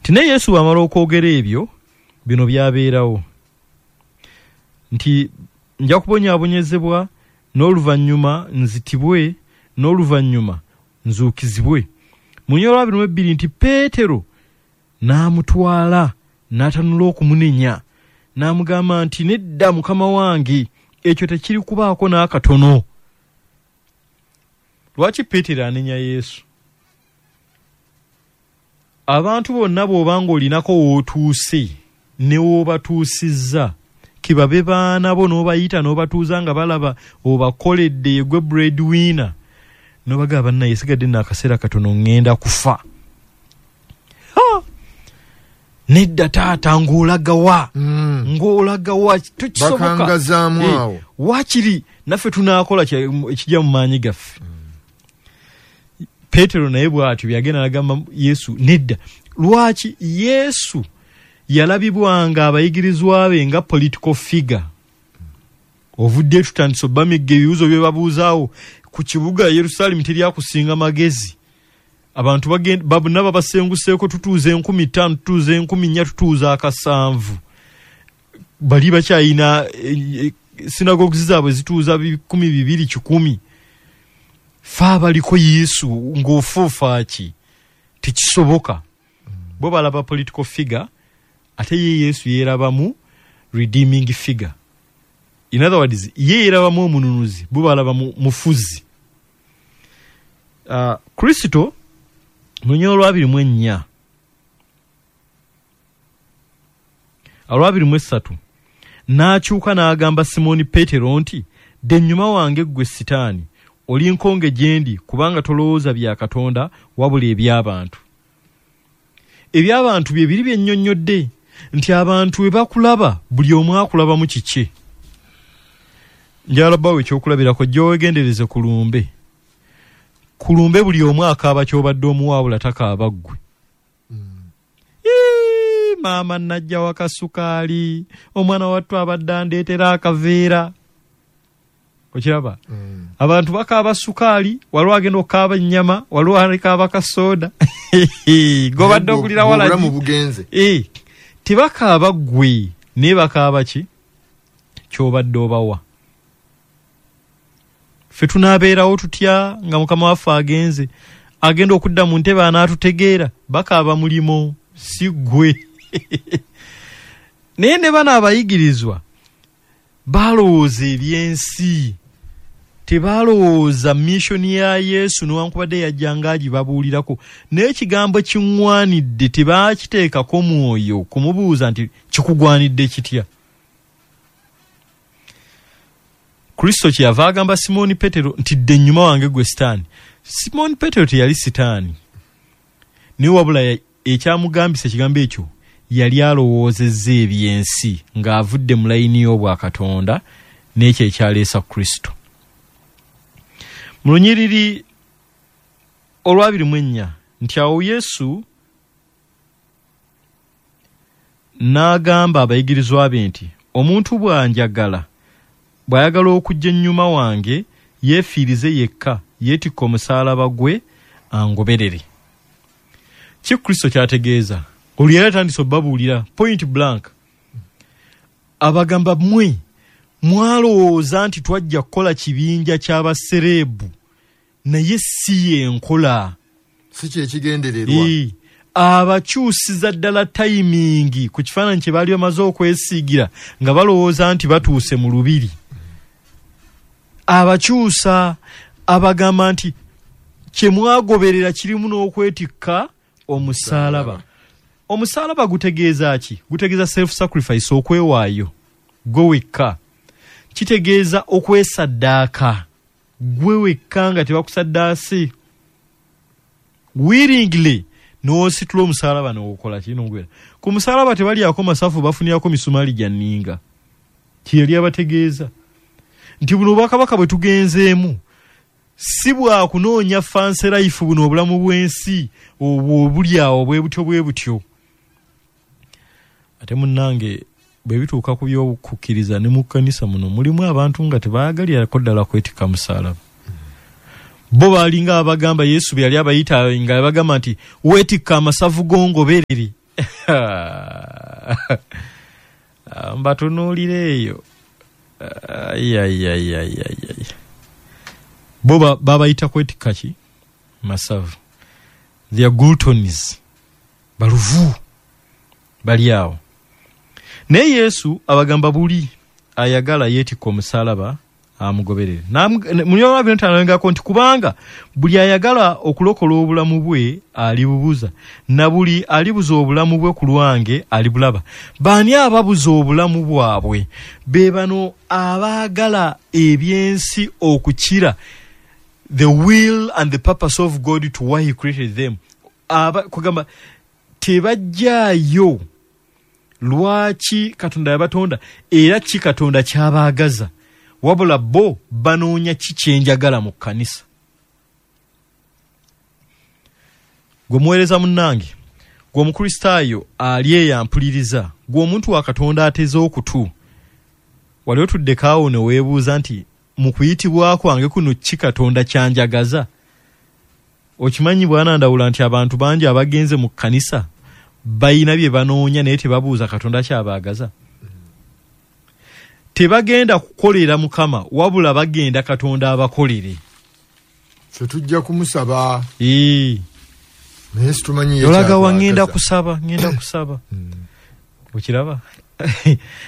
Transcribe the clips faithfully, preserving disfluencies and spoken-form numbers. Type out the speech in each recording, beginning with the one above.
Nti naye Yesu bw'amala okwogera ebyo, bino byabeerawo nti nja kubonyaabonyezebwa, n'oluvannyuma nzitibwe, n'oluvannyuma nzuukizibwe. Mu lunyiriri lw'abiri mu ebbiri nti Peetero n'amutwala n'atanula okumunenya, n'amugamba nti nedda Mukama wange, ekyo tekiri kubaako n'akatono. Lwaki Peetero anenya Yesu? Abantu bonna bw'obanga olinako w'otuuse ne w'obatuusizza, kibabe baana bo n'obayita n'obatuuza nga balaba obakoledde gwe breadwinner, n'obagamba bannaye sigadde nno akaseera katono ŋŋenda kufa. Ha! Nedda taata, ng'olagawa, Mm. ng'olagawa, tekisoboka. Bakangazaamu Eh, awo. Waakiri naffe tunaakola kye- ekijja mu maanyi gaffe. Peetero naye bw'atyo byagenda n'agamba Yesu nedda. Lwaki Yesu yalabibwanga abayigirizwa be nga political figure? Ovudde tutandise obbamigga ebibuuzo bye babuuzaawo ku kibuga Yerusaalemi teryakusinga magezi. Abantu bagenda, bonna babasenguseeko, tutuuza enkumi ttaano, tutuuza enkumi nnya, tutuuza akasanvu. Bali bakyayina, eh, eh, sinagoguzi zaabwe zituuza bikumi bibiri kikumi. Ffe abaliko Yesu ng'ofuufa ki? Tekisoboka. Bo balaba political figure, ate ye Yesu yeerabamu redeeming figure. In other words, ye yeerabamu omununuzi, bo balaba mu-, mufuzi. Uh, Kristo mu lunyiriri olw'abiri mu ennya, olw'abiri mu essatu, n'akyuka n'agamba Simooni Peetero nti, dda ennyuma wange ggwe Sitaani, oli nkonge gye ndi, kubanga tolowooza bya Katonda wabula eby'abantu. Eby'abantu bye biri bye nnyonnyodde nti abantu bwe bakulaba buli omu akulabamu kiki. Njagala bbawo ekyokulabirako, jjo weegendereze ku lumbe. Ku lumbe buli omu akaaba ky'obadde omuwa, takaaba ggwe. Ii, maama najja waka sukaali, omwana wattu abadde andeetera akaveera. Okiraba? Mm. Abantu bakaaba sukaali, waliwo agenda okukaaba ennyama, waliwo alikaaba kasooda. Gobadde okulira Obulamu walagi. bugenze. Eh, tebakaaba ggwe, naye bakaaba ki? Ky'obadde obawa. Ffe tunaabeerawo tutya nga Mukama waffe agenze? Agenda okudda mu ntebe anaatutegeera, bakaaba mulimo, si ggwe. Naye ne bano abayigirizwa balowooza ebyensi, tebalowooza mission ya Yesu newankubadde yajjanga agibabuulirako, naye ekigambo kiŋŋwanidde tebakiteekako mwoyo kumubuuza nti kikugwanidde kitya. Kristo kyeyava agamba Simooni Peetero nti dda ennyuma wange ggwe Sitaani. Simooni Peetero teyali Sitaani, naye wabula ya-, ekyamugambisa ekigambo ekyo yali alowoozezza ebyensi ng'avudde mu layini y'obwakatonda n'ekyo ekyaleesa Kristo. Mu lunyiriri olw'abiri mu ennya nti awo Yesu n'agamba abayigirizwa be nti omuntu bw'anjagala, bw'ayagala okujja ennyuma wange, yeefiirize yekka, yeetikka omusaalaba gwe angoberere. Ki Kristo ky'ategeeza? Olwo yali atandise obbabuulira point blank. Abagamba mmwe mwalowooza nti twajja kukola kibinja ky'abasereebu, naye si y'enkola. Si kye kigendererwa. Ee, abakyusiza ddala tayimingi ku kifaananyi kye baali bamaze okwesiigira nga balowooza nti batuuse mu lubiri. Abakyusa abagamba nti kye mwagoberera kirimu n'okwetikka omusaalaba. Omusaalaba gutegeeza ki? Gutegeeza self-sacrifice, okwewaayo gwe wekka. Kitegeeza okwesaddaaka gwe wekka nga tebakusaddaase. Willingly n'ositula omusaalaba n'okola ki? N'ogwera. Ku musaalaba tebalyako masafu, bafunirako misumaali gya nninga. Kye yali abategeeza nti buno obwakabaka bwe tugenzeemu si bwa kunoonya fancy life, buno obulamu bw'ensi obwo obuli awo bwe butyo bwe butyo. Ate munnange bwe bituuka ku by'okukkiriza ne mu kkanisa muno mulimu abantu nga tebaagalirako ddala kwetikka musaalaba. Bo baalinga abagamba Yesu bwe yali abayita nga yabagamba nti weetikka amasavu g'ongoberere. Mbatunuulira eyo. Ayayayayayay, bo babayita kwetikka ki? Masavu. They are gluttons, baluvu, bali awo. Naye Yesu abagamba buli ayagala yeetikka omusalaba amugoberere. Munyolabinotanoengako nti kubanga buli ayagala okulokola obulamu bwe alibubuza, na buli alibuza obulamu bwe ku lwange alibulaba. Baani ababuza obulamu bwabwe? Be bano abaagala ebyensi okukira the will and the purpose of God to why he created them. Aba, kugamba tebajjaayo lwaki Katonda yabatonda era ki Katonda kyabaagaza, wabula bo banoonya ki kyenjagala mu kkanisa. Gwe muweereza munnange, gwe omukristaayo ali eyo ampuliriza, gwe omuntu wa Katonda ateze okutu, wali otuddeko awo ne weebuuza nti mu kuyitibwa kwange kuno ki Katonda kyanjagaza? Okimanyi bwana Ndawula nti abantu bangi abagenze mu kkanisa bayina bye banoonya naye tebabuuza Katonda kyabaagaza. Tebagenda kukolera Mukama, wabula bagenda Katonda abakolere. Ffe tujja kumusaba. Ee. Naye situmanyi ye Olaga wa kyatwagaza. ngenda kusaba, ngenda kusaba. Okiraba?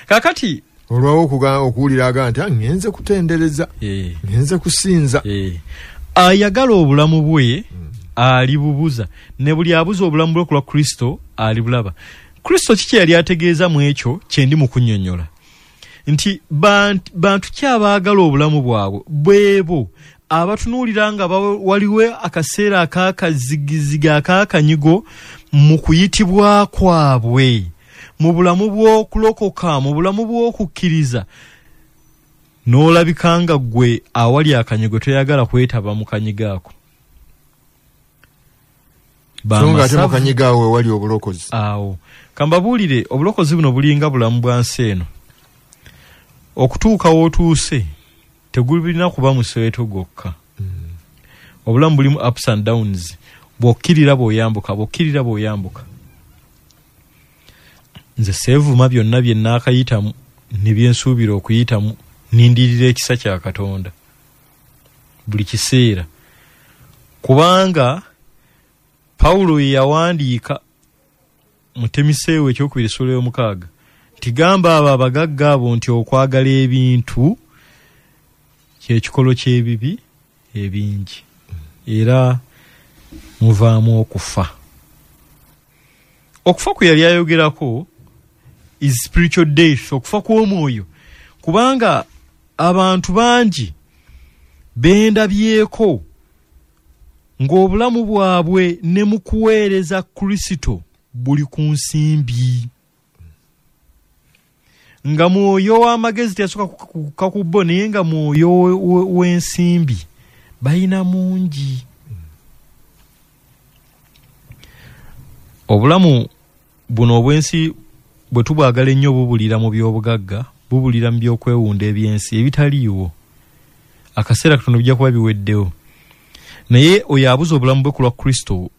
Kaakati olwawo okuga-, okuwulira aga nti, ah, ngenze kutendereza, Eh. ngenze kusinza. Eh. Ayagala obulamu bwe alibubuza, ne buli abuza obulamu bwe ku lwa Kristo alibulaba. Kristo kiki yali ategeeza mu ekyo kye ndi mu kunnyonnyola? Nti bant-, bantu ki abaagala obulamu bwabwe? Bwebo abatunuulira nga ba-, waliwo akaseera ak'akazigiziga ak'akanyigo mu kuyitibwa kwabwe, mu bulamu bw'okulokoka, mu bulamu bw'okukkiriza, n'olabika nga ggwe awali akanyigo toyagala kwetaba mu kanyigo ako. So nga ate mu Bamasavu kanyigo awo we wali obulokozi. Awo. Kambabuulire, obulokozi buno bulinga bulamu bwa nsi eno. Okutuuka w'otuuse tegulina kuba museeto gwokka. Mm. Obulamu bulimu ups and downs. Bw'okkirira bw'oyambuka, bw'okkirira bw'oyambuka. Nze seevuma byonna bye nnaakayitamu ne bye nsuubira okuyitamu, nindirira ekisa kya Katonda buli kiseera. Kubanga Pawulo ye yawandiika mu Timoseewo ekyokubiri essuula y'omukaaga nti gamba abo abagagga abo nti okwagala ebintu ky'ekikolo ky'ebibi ebingi, era muvaamu okufa. Okufa kwe yali ayogerako is spiritual death, okufa kw'omwoyo, kubanga abantu bangi bendabyeko ng'obulamu bwabwe ne mu kuweereza Kristo buli ku nsimbi, nga mwoyo w'amagezi teyasooka kukka ku bo, naye nga mwoyo we-, we-, w'ensimbi balina mungi. Obulamu buno obw'ensi bwe tubwagala ennyo bubulira mu by'obugagga, bubulira mu by'okwewunda eby'ensi ebitaliiwo. Akaseera katono bijja kuba biweddewo. Naye oyo abuza obulamu bwe ku lwa Kristo,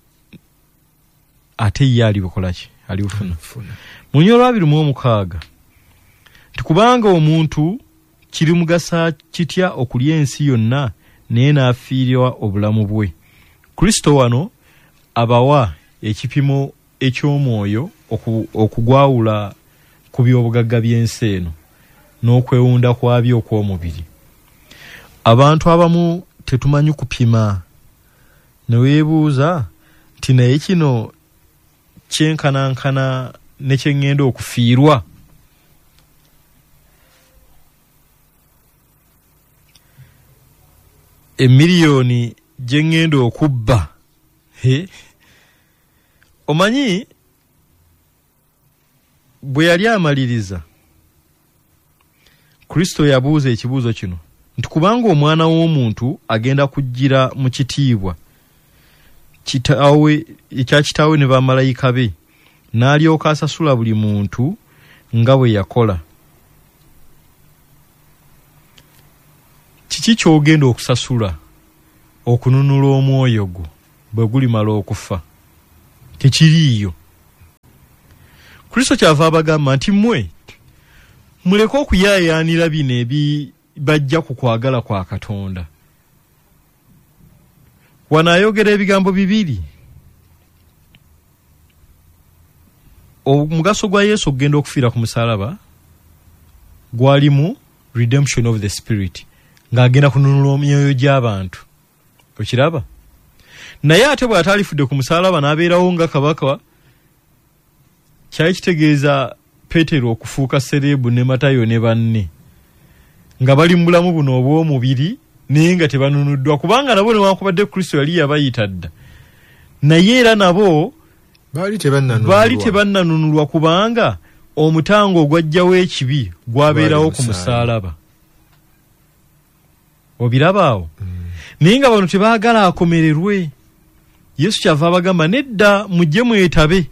ate ye alibukola ki? Alibufuna. Alibufuna. Mu lunyiriri lwa abiri mu omukaaga nti kubanga omuntu kirimugasa kitya okulya ensi yonna naye n'afiirwa obulamu bwe. Kristo wano abawa ekipimo eky'omwoyo oku-, okugwawula ku by'obugagga by'ensi eno n'okwewunda kwabyo okw'omubiri. Abantu abamu tetumanyi kupima, ne weebuuza nti naye kino kyenkanankana ne kye ŋŋenda okufiirwa. Emiliyoni gye ŋŋenda okubba. He? Omanyi bwe yali amaliriza, Kristo yabuuza ekibuuzo kino nti kubanga omwana w'omuntu agenda kujjira mu kitiibwa kitaawe, ekya kitaawe ne bamalayika be, n'alyoka asasula buli muntu nga bwe yakola. Kiki ky'ogenda okusasula okununula omwoyo gwo bwe gulimala okufa? Tekiriiyo. Kristo kyava abagamba nti mmwe muleke okuyaayaanira bino ebibajja ku kwagala kwa Katonda. Wano ayogera ebigambo bibiri. Omugaso gwa Yesu okugenda okufiira ku musaalaba gwalimu redemption of the spirit, ng'agenda kununula emyoyo gy'abantu. Okiraba? Naye ate bw'atalifudde ku musaalaba n'abeerawo nga kabaka, kyali kitegeeza Peetero okufuuka sereebu ne Matayo ne banne nga bali mu bulamu buno obw'omubiri naye nga tebanunuddwa, kubanga nabo newankubadde Kristo yali yabayita dda, naye era nabo baali tebannanunulwa, baali tebannanunulwa kubanga omutango ogwajjawo ekibi gwabeerawo ku musaalaba. Obiraba awo? Mm. Naye nga bano tebaagala akomererwe. Yesu kyava abagamba nedda, mujje mwetabe.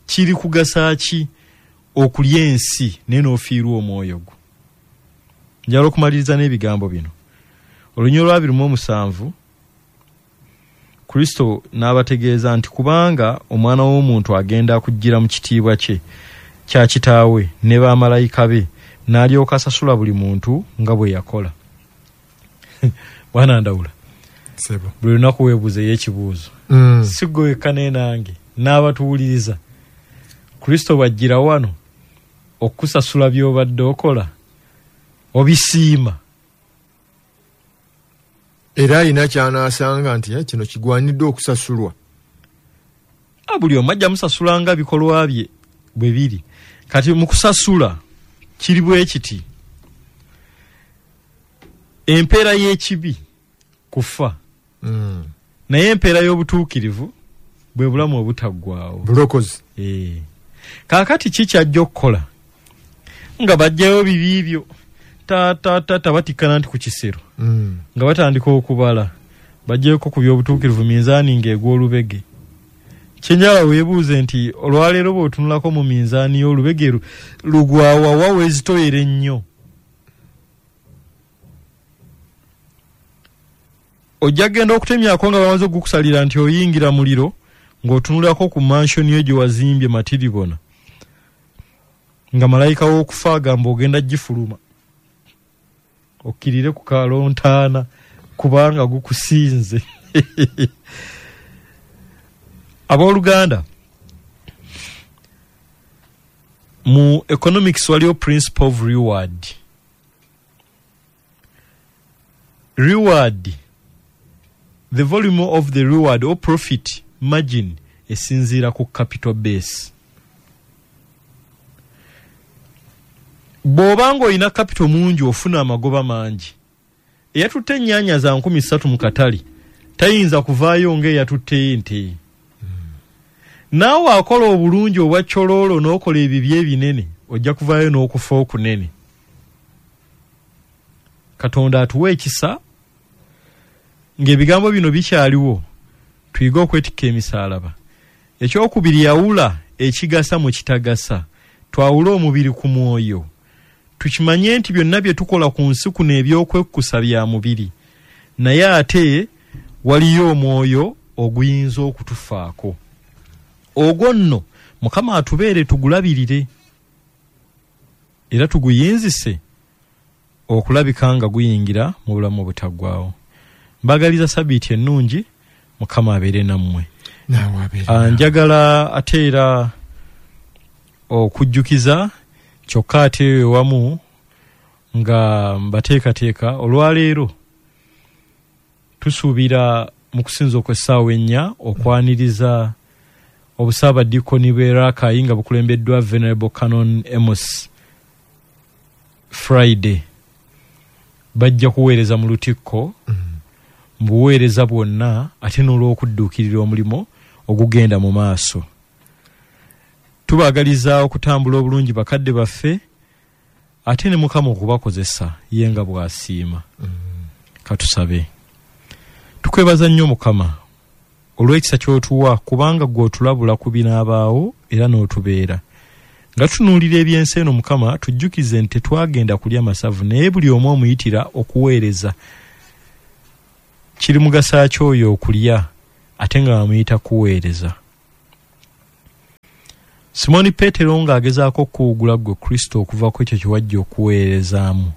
Kiri kugasa ki okulya ensi naye n'ofiirwa omwoyo gwo? Njagala okumaliriza n'ebigambo bino. Olunyiriri lwa abiri mu omusanvu, Kristo n'abategeeza nti kubanga omwana w'omuntu agenda kujjira mu kitiibwa kye kya kitaawe ne bamalayika be, n'alyoka asasula buli muntu nga bwe yakola. Bwana Ndawula, buli lunaku weebuuzeyo ekibuuzo. Mm. Si ggwe wekka naye nange n'abatuwuliriza. Kristo bw'ajjira wano okukusasula by'obadde okola, obisiima. Era alina ky'anaasanga nti kino kigwanidde okusasulwa. Buli omu ajja musasula nga bikolwa bye bwe biri. Kati mu kusasula kiri bwe kiti: empeera y'ekibi kufa, Mm. naye empeera y'obutuukirivu bwe bulamu obutaggwaawo, bulokozi. Eh. Kaakati ki ky'ajja okukola? Nga bajjayo bibi byo ta ta ta batikkana nti ku kisero, Mm. nga batandika okubala, bajjeko ku by'obutuukirivu minzaani ng'egwa olubege. Kyenjala weebuuze nti olwaleero bw'otunulako mu minzaani y'olubege lugwawa wa weezitoyera ennyo? Ojja kugenda okutemyako nga bamaze okukusalira nti oyingira muliro, ng'otunulako ku mansion yo gye wazimbye matiribona, nga malayika w'okufa agamba ogenda gifuluma okkirire ku kalontaana kubanga gukusinze. Abooluganda, mu economics waliyo principle of reward. Reward, the volume of the reward or profit margin esinziira ku capital base. Bw'oba ng'olina capital mungi ofuna amagoba mangi. Eyatutte ennyaanya za nkumi ssatu mu katale tayinza kuvaayo ng'eyatutte ente. Naawe akola obulungi obwa kyoloolo n'okola ebibi ebinene ojja kuvaayo n'okufa okunene. Katonda atuwa ekisa ng'ebigambo bino bikyaliwo, tuyige okwetikka emisaalaba. Ekyokubiri, yawula ekigasa mu kitagasa, twawule omubiri ku mwoyo. Tukimanye nti byonna bye tukola ku nsi kuno ebyokwekkusa bya mubiri, naye ate waliyo omwoyo oguyinza okutufaako. Ogwo nno Mukama atubeere tugulabirire era tuguyinzise okulabika nga guyingira mu bulamu obutaggwaawo. Mbagaliza sabiiti ennungi, Mukama abeere nammwe. Njagala ate era okujjukiza kyokka ate wamu nga mbateekateeka olwaleero tusuubira mu kusinza okw'essaawa ennya okwaniriza obusaabadiikoni bw'e Rakai nga bukulembeddwa Venerable Canon Amos Friday. Bajja kuweereza mu lutikko mu buweereza bwonna ate n'olw'okudduukirira omulimu ogugenda mu maaso. Tubaagaliza okutambula obulungi bakadde baffe ate ne Mukama okubakozesa ye nga bw'asiima. Katusabe. Tukwebaza nnyo Mukama olw'ekisa ky'otuwa, kubanga ggwe otulabula ku binaabaawo era n'otubeera. Nga tutunuulira ebyensi eno Mukama, tujjukize nti tetwagenda kulya masavu, naye buli omu omuyitira okuweereza. Kiri mugasa ki oyo okulya ate nga bamuyita kuweereza? Simoni Peetero ng'agezaako okuwugula ggwe Kristo okuva ku ekyo kye wajja okuweerezaamu,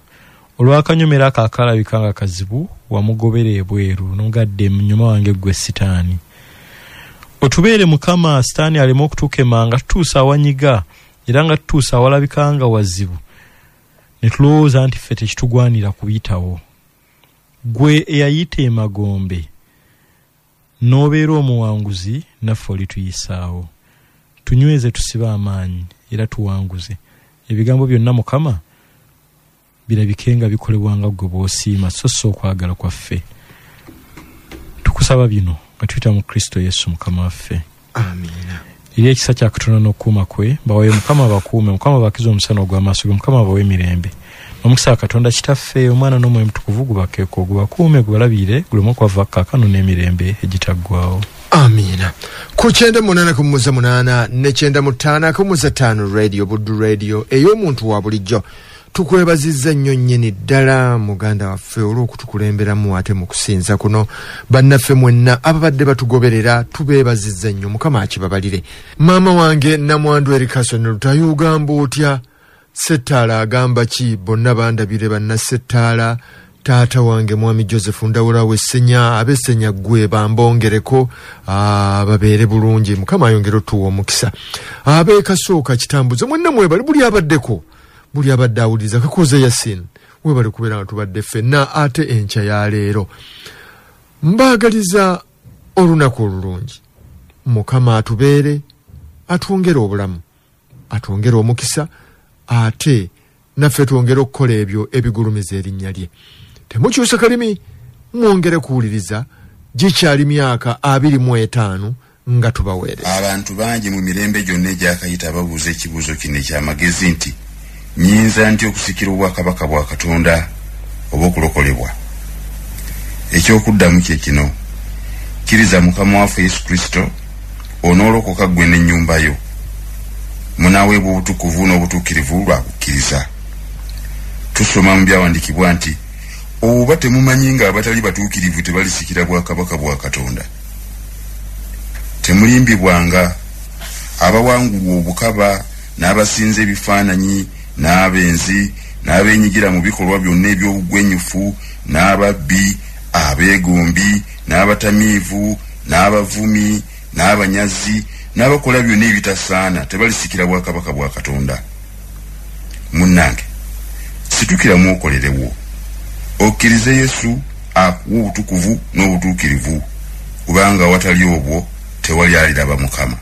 olw'akanyomero ako akalabika nga kazibu wamugobera ebweru n'ogadde ennyuma wange ggwe Sitaani. Otubeere Mukama, Sitaani aleme okutukema nga tutuusa awanyiga era nga tutuusa awalabika nga wazibu, ne tulowooza nti ffe tekitugwanira kuyitawo. Ggwe eyayita emagombe n'obeera omuwanguzi, naffe olituyisaawo. Tunyweze, tusibe amaanyi era tuwanguze. Ebigambo byonna Mukama birabike nga bikolebwa nga ggwe bw'osiima, so si okwagala kwaffe. Tukusaba bino nga tuyita mu Kristo Yesu Mukama waffe. Amiina. Eri ekisa kya Katonda n'okukuuma kwe bawe Mukama bakuume, Mukama bakize omusana ogw'amaaso ge, Mukama bawe emirembe. Omukisa wa Katonda Kitaffe, Omwana n'Omwoyo Mutukuvu gubakeeko, gubakuume, gubalabire, guleme okwava kaakano n'emirembe egitaggwaawo. Amiina. Ku kyenda munaana ku muza munaana ne kyenda mu ttaano ku muza ttaano Radio Buddu Radio ey'omuntu wa bulijjo. Tukwebazizza nnyo nnyini ddala muganda waffe olw'okutukulemberamu ate mu kusinza kuno. Bannaffe mwenna ababadde batugoberera tubeebazizza nnyo, Mukama akibabalire. Maama wange Namwandu Erikason Lutayo ogamba otya? Settaala agamba ki? Bonna bandabire banna Settaala. Taata wange Mwami Joseph Ndawula w'Essenya, ab'Essenya ggwe bambongereko, babeere bulungi, Mukama ayongere otuwa omukisa. Ab'e Kasooka Kitambuze mwenna mwebale, buli abaddeko, buli abadde awuliriza Kakoze Yasin, webale kubeera nga tubadde ffenna ate enkya ya leero. Mbaagaliza olunaku olulungi. Mukama atubeere, atwongere obulamu, atwongere omukisa, ate naffe twongere okukola ebyo ebigulumiza erinnya lye. Temukyusa kalimi, mwongere kuwuliriza. Gikyali myaka abiri mu etaano nga tubaweereza. Abantu bangi mu mirembe gyonna egyakayita babuuza ekibuuzo kino ekyamagezi nti, nnyinza ntya okusikira obwakabaka bwa Katonda oba okulokolebwa? Ekyokuddamu kye kino: kkiriza Mukama waffe Yesu Kristo, onoolokoka ggwe n'ennyumba yo. Munaaweebwa obutukuvu n'obutuukirivu lwa kukkiriza. Tusoma mu byawandiikibwa nti, oba temumanyi nga abatali batuukirivu tebalisikira bwakabaka bwa Katonda? Temulimbibwanga, abawangulwa obukaba n'abasinza ebifaananyi n'abenzi n'abeenyigira mu bikolwa byonna eby'obugwenyufu n'ababbi, abeegombi n'abatamiivu n'abavumi n'abanyazi n'abakola byonna ebitasaana tebalisikira bwakabaka bwa Katonda. Munnange, situkiramu okolerewo, okkirize Yesu akuwa obutukuvu n'obutuukirivu, kubanga awatali obwo tewali aliraba Mukama.